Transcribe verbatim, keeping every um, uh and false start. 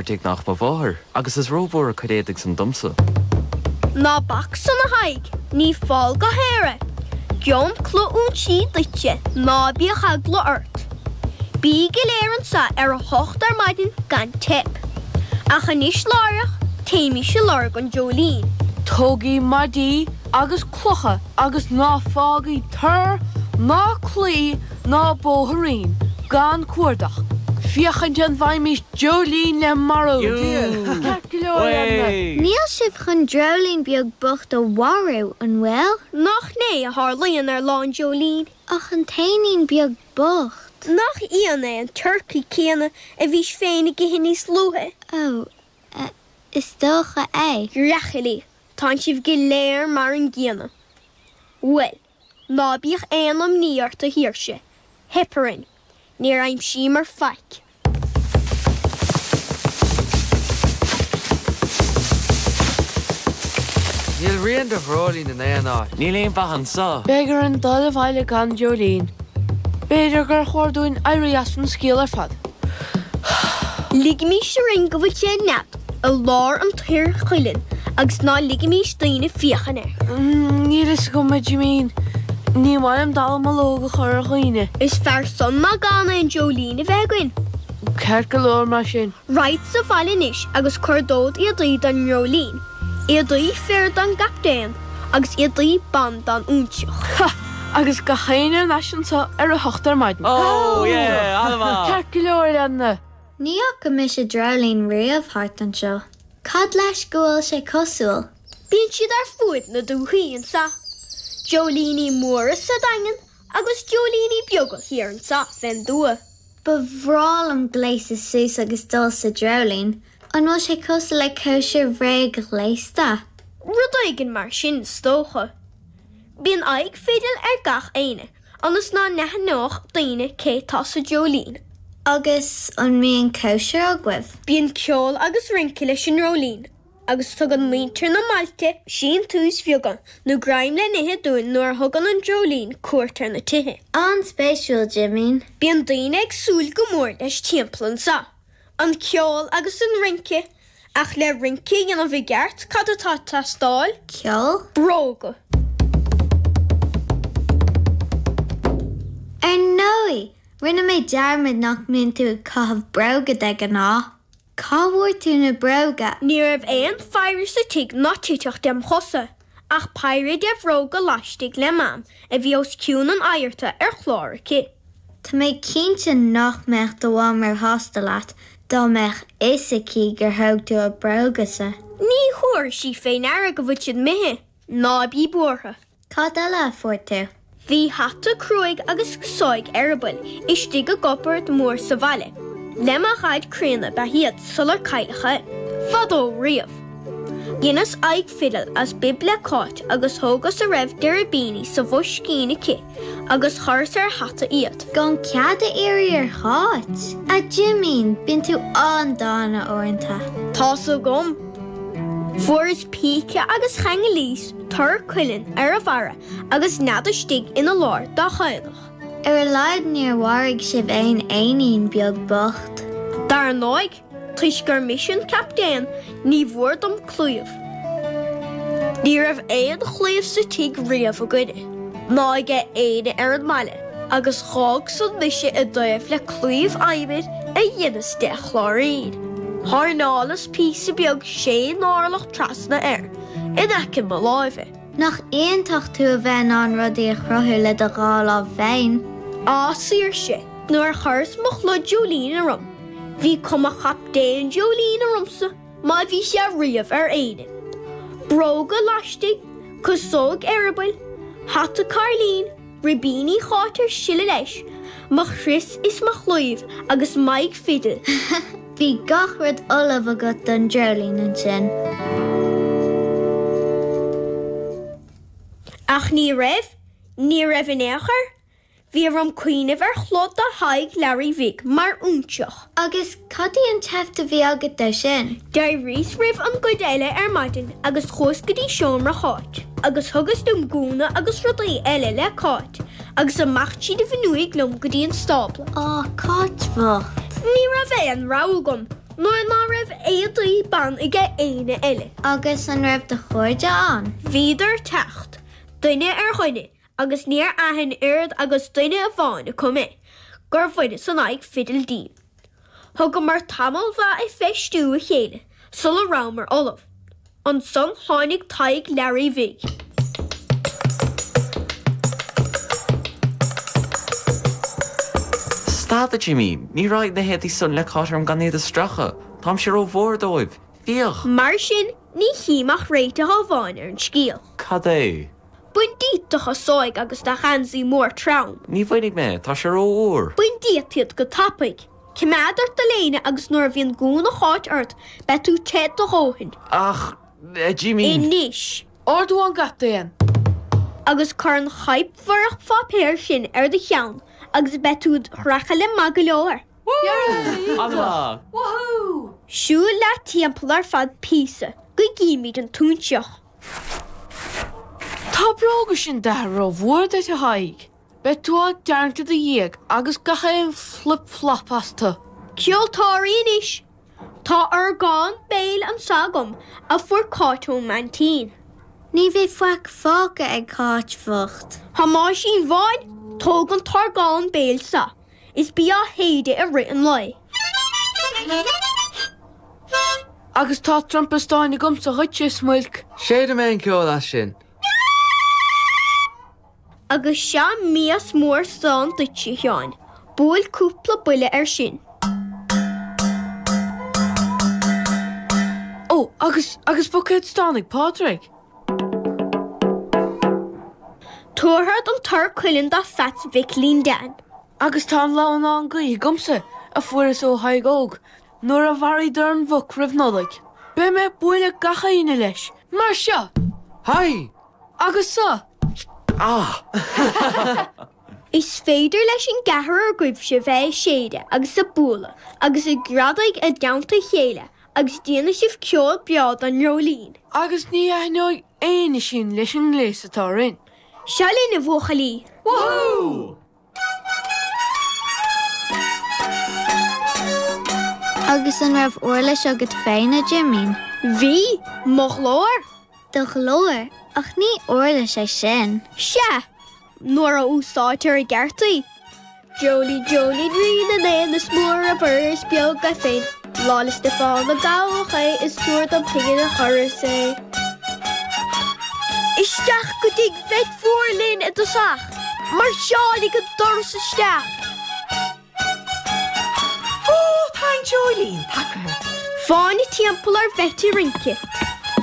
tigh nach mo mháthair, agus is rómhór a cuid éadaigh san domsa. Ná bac san a Thaidhg, ní fál go haer é. Gheobhainn culaith óinsí duitse, ná bíodh eagla ort. Bí go léir anso ar a hocht ar maidin gan teip. Ach anois láithreach, téimís ag lorg an dreoilín. Tógaigí maidí agus clocha agus ná fágaigí tor ná claí ná bóithrín gan cuardach, féachaint an bhfaighimís dreoilín le marú. Ceart go leor, a leanna. Níl sibh chun dreoilín beag bocht a mharú, an bhfuil? Nach é a tharlaíonn ar lá an dreoilín? Ach an t-éinín beag bocht. Nach ionadh é an turcaí céanna a bhís féin ag ithe níos luaithe? Ó, is dócha é. Rachaillí, tánn sibh go léir mar an gcéanna. Bhuel, ná bíodh aon imní ort a Shaoirse, theip orainn. Níor aimsíomar faic. Níl rian de dhreoilín in aon áit. Níl aon mhaith anso. Beidh orainn dul abhaile gan dreoilín. B'fhéidir gur chóir dúinn éirí as an scéal ar fad. Ligimís orainn go bhfuil sé ina nead i lár an toir chuilinn agus ná ligimís d'aoinne féachaint air. Níl fhios agam, a Jimín. Ní maith liom dallamullóg a chur ar dhaoine. Is fearr san ná gan aon dreoilín a bheith againn. Ceart go leor mar sin. Raghadsa abhaile anois agus cuardód éadaí don ndreoilín, éadaí fir don gcaptaen agus éadaí ban don óinseach. Ha! Agus gach éinne thar n-ais anso ar a hocht ar maidin. Oh yeah! An-mhaith! Ceart go leor, a leanna. Ní fhaca mise dreoilín riamh thart anseo. Cad leis go bhfuil sé cosúil? Bíonn siad ar fuaid na dúthaí anso. Dreoilíní móra sa Daingean agus dreoilíní beaga thiar anso fén dtuath. Ba bhreá liom gléasadh suas agus dul sa dreoilín. An bhfuil sé cosúil le cóisir bhréag-ghléasta? Rud éigin mar sin is dócha. Bíonn aghaidh fidil ar gach éinne, ionas ná n-aithneodh daoine cé tá sa dreoilín. Agus an mbíonn cóisir agaibh? Bíonn ceol agus rince leis an ndreoilín agus tugann muintir na mbailte síntiúis bheaga nó greim le n-ithe dúinn nuair a thugann an dreoilín cuairt ar na tithe. An-spéisiúil, Jimín. Bíonn daoine ag súil go mór leis timpeall anso, an ceol agus an rince, ach le rince a dhéanamh i gceart cad atá ag teastáil? Ceol? Bróga. Ar ndóigh! Rinne mé dearmad nach mbíonn tú ag caitheamh bróga de ghnáth. Cá bhfuair tú na bróga? Ní raibh aon pheidhre sa tigh ná titfeadh dem chosa, ach péire de bhróga laistigh le Mam a bhí os cionn an adharta ar chlár aici. Tá mé cinnte nach mbeadh do mham róshásta leat dá mbeadh fhios aici gur thóg tú a bróga-sa. Ní thabharfaidh sí fé ndeara go bhfuil siad imithe. Ná bí buartha. Cad eile a fuair tú? Bhí hata cruaidh agus casóig eireabaill istigh i gcupard mór sa bhaile. Le mo dhaid críonna ba ea iad sular cailleadh é, fadó riamh. Dheineas aghaidh fidil as bib le Cáit agus thógas a raibh de ribíní sa bhoiscín aici agus chuireas ar a hata iad. Gan cead a iarraidh ar Cháit? A Jimín, bíonn tú an-dána uaireanta. Tá's agam. Fuaireas píce agus cheanglaíos tor cuilinn ar a bharra agus nead istigh ina lár dá chaonach. Ar a laghad níor mharaigh sibh aon éinín beag bocht. Dar ndóigh, toisc gur mise an captaen, ní mhór dom claíomh. Ní raibh aon chlaíomh sa tigh riamh againne, ná aige éinne ar an mbaile, agus dh'fhág san mise i dtaobh le claíomh adhmaid a dheineas de chláirín. Thairneálas píosa beag sé n-orlach trasna air, in aice mo láimhe. Nach iontach tú a bheith in ann rudaí a chruthú le do dhá lámh féin? Á, Saoirse, nuair a chuireas mo chulaith dreoilín orm, bhí cuma chaptaen dreoilín ormsa má bhí sé riamh ar éinne. Bróga laistigh, casóg eireabaill, hata cairlín, Ribíní Cháit ar sileadh leis, mo chrios is mo chlaíomh agus m'aghaidh fidil. Bhí gach rud ullamh agat don dreoilín ansin. Ach ní raibh, ní raibh in aon chor. Bhí orm cuimhneamh ar chulaith do Thadhg Learaí Bhig mar óinseach. Agus cad í an tseift a bhí agat dó sin? D'éiríos roimh an gcuid eile ar maidin agus chuas go dtí seomra Cháit agus thugas liom gúna agus rudaí eile le Cáit agus amach tríd an bhfuinneoig liom go dtí an stábla. Á, Cáit bhocht. Ní raibh aon rogha agam. Nuair ná raibh éadaí ban aige éinne eile. Agus an raibh do chairde ann? Bhíodar ag teacht, duine ar dhuine, agus níor aithin oiread agus duine amháin acu mé, gur bhaineas an aghaidh fidil díom. Thugamar tamall mhaith ag feistiú a chéile sula rabhamar ullamh. Ansan tháinig Tadhg Learaí Bhig. Stad, a Jimín, ní raghaidh na héadaí san le Cáit orm gan iad a stracadh. Táimse rómhór dóibh. Féach! Mar sin, ní chím ach réiteach amháin ar an scéal. Cad é? Bain díot do chasóig agus do gheansaí mór trom. Ní bhainfidh mé, tá sé rófhuar. Bain díot iad go tapaidh. Coimeád ort do léine agus nuair a bhíonn gúna Cháit ort beidh tú te do dhóthain. Ach, a Jimín. Anois! Ordú ón gcaptaen. Agus cuir an chaidhp bhorrach pháipéir sin ar do cheann agus beidh tú id thrachaille maith go leor. An-mhaith! Woohoo! Siúil leat timpeall ar feadh píosa go gcímid an t-óinseach. Tá bróga sin d'athar rómhór duit, a Thaidhg. Beidh tú á dtarraingt i do dhiaidh agus gach aon flip flop astu. Ceoltóirí anois! Tá orgán béil anso agam a fuair Cáit ón mbaintín. Ní bheidh faic fágtha ag Cáit bhocht. Thomáisín Bháin, tóg an t-orgán béil so is bí á shéideadh i rith an lae. Agus tá trumpa stáin agamsa dhuitse, a Smuilc. Séidfidh mé an ceol as sin. Agus seo mias mór stáin duitse, a Sheáin. Buail cúpla buille air sin. Ó, agus, agus buicéad stáin ag Pádraig. Tabharfad an tor cuilinn do Pheaits Mhicilín Dan. Agus tá an lamhnán gaoithe agamsa, a fuaireas ó Thadhg Óg, nuair a mharaíodar an mhuc roimh Nollaig. Beidh mé ag bualadh gach éinne leis, mar seo! Haigh! Agus seo! Ah! Is féidir leis an gceathrar agaibhse bheith ag séideadh agus ag bualadh agus ag greadaigh i dteannta a chéile agus déanfaidh sibh ceol breá don ndreoilín. Agus ní aithneoidh éinne sinn leis an ngléas atá orainn. Seo linn, a bhuachaillí! Woohoo! Agus an raibh uirlis agat féin, a Jimín? Bhí, mo ghlór! Do ghlór? Ach ní uirlis é sin. Sea, nuair a úsáidtear i gceart í. Dreoilín, dreoilín rí na n-éan, is mór a mhuir is beag é féin. Lá 'le Stiofáin a gabhadh é is tabhair dom pingin a chuireas é. Isteach go dtigh Bheit Mhór linn i dtosach. Mairseáil ag an doras isteach. Ó, tá an dreoilín tagaithe. Fáinne timpeall ar Bheit ag rince.